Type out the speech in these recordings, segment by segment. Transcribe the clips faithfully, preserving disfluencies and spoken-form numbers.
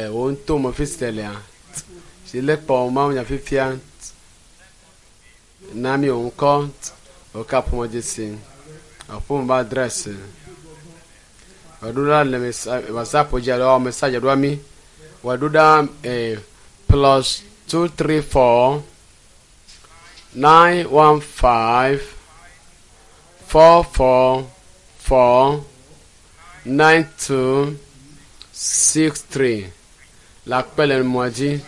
Wo ŋutɔ me fi si lea si le kpɔ mawunya fifia na mi wò ŋkɔ wò kaƒomedzesi aƒeme be adresi wòɖo ɖa le WhatsApp dzi alo message ɖoa mi wòɖo ɖa eh, plus two three four nine one five four four four nine two six three le akpe le mɔa dzi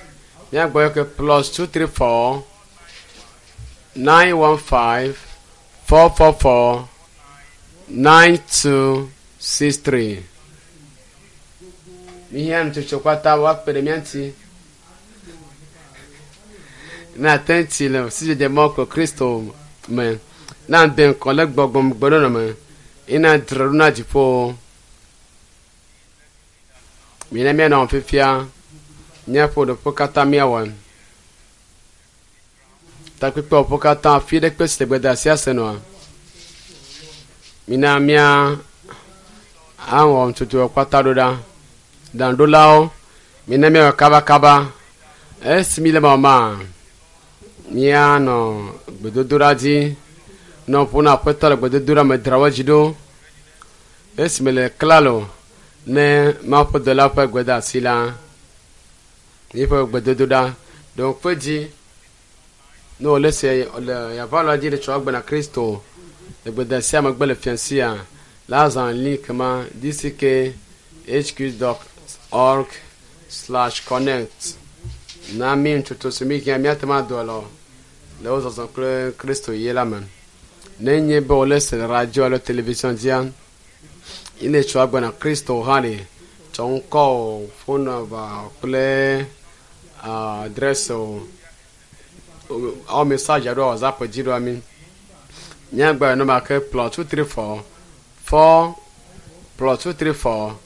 míagbɔ yɔ ke plus two three four nine one five four four four nine two six three. Mihiã nutsotso kpata woakpe ɖe mía ŋuti na ate ŋuti le sidzedze mɔ kple Kristo me na de ŋkɔ le gbɔgbɔmegbenɔnɔ me ina dzra ɖo na dziƒo. Mina míanɔ fifia míaƒo ɖoƒe katã míawɔ takpekpewo katã fi ɖe kpe si le gbedeasia se nɔa. Mina mía awɔ nutsotso kpata ɖo ɖa. Ɖaŋuɖolawo, mina míawɔ kabakaba. Esi mi le mama, míanɔ gbedodoɖa dzi. Nɔ ƒo na aƒetɔ le gbedodoɖa me dzra wo dzi ɖo. Esi me le klalo ne Mawu ƒe dɔla ƒe gbedeasi la, míaƒe gbedodoɖa ɖo ŋku edzi ne wòle se le yaʋalɔa dzi le tsɔ agbe na Kristo le gbedeasia megbe le fiasia la azã link ma dckhq dot org slash connect na mi nutsotso si mi hiã míate ŋu ado alɔ le wo zɔzɔ kple Kristo ye la me. Ne nye be wòle se le radio alo television dzia, ile tsɔ agbe na Kristo hã ɖe tsɔ ŋkɔ o, phone number kple adresse o, awɔ message alo WhatsApp dzi ɖoa mi. Míagba nɔma ke plus two three four four plus two three four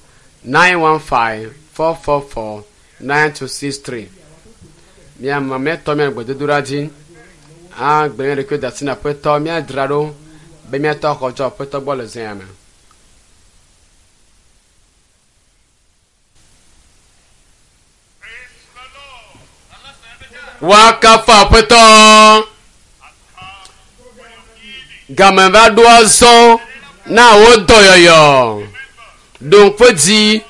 nine one five four four four nine two six three. Míama míatɔ mía gbedodoɖa dzi agbe mía ɖokui da asi na aƒetɔ míadzra ɖo be míatɔ axɔ tso aƒetɔ gbɔ le zea me. Woakafu aƒetɔ. Game va ɖo azɔ na wò dɔyɔyɔ. Ɖo ŋku edzi.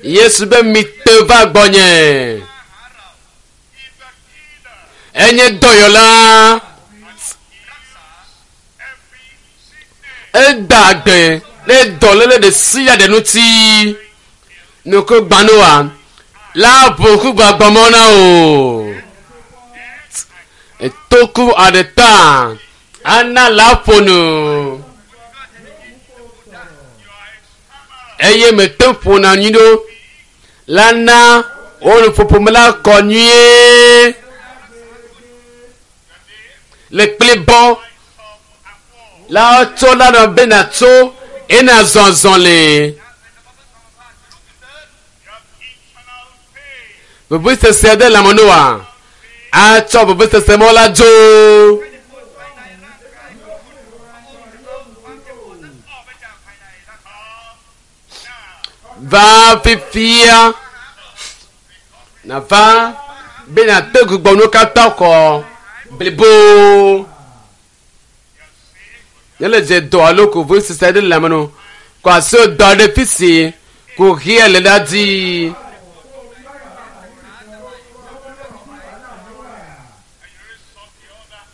Yesu be mite va gbɔnye. Enye dɔyɔla. Eda gbe ɖe dɔléle ɖe sia ɖe ŋuti. Nuku gbanoa la ʋu ŋku gbagbɔmɔ na o. Etoku aɖe ta ana la ƒo nu. Eye mete ƒona nyui ɖo la na wo nuƒoƒo me la kɔ nyuie. Le kplibɔ la tso la nɔ be natso ena zɔzɔ le. Vevesese ɖe lãme noa atsɔ vevesese mɔ la dzo. Va fifia nava be nàte gbugbɔ nuwo katã xɔ blibo. Ne le dze dɔ alo ko vevesese ɖe lãme no kɔ asi dɔ ɖe fi si ko xia le la dzi.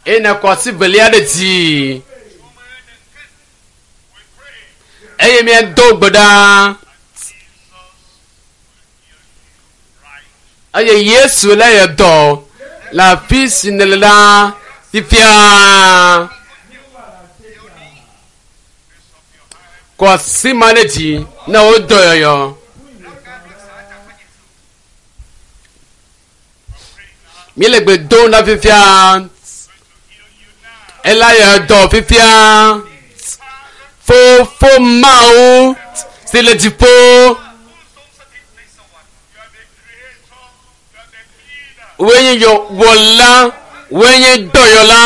Eye nakɔ asi velia ɖe dzi. Eye míado gbe ɖa. Eye Yesu le yɔ dɔ le afi si nèle la fifia. Kɔ asi ma ɖe dzi na wò dɔyɔyɔ. Míele gbe dom ɖa fifia. Ela yɔ dɔ fifia. Fofo Mawu si le dziƒo. Woe nye yɔ wɔla, woe nye dɔyɔla.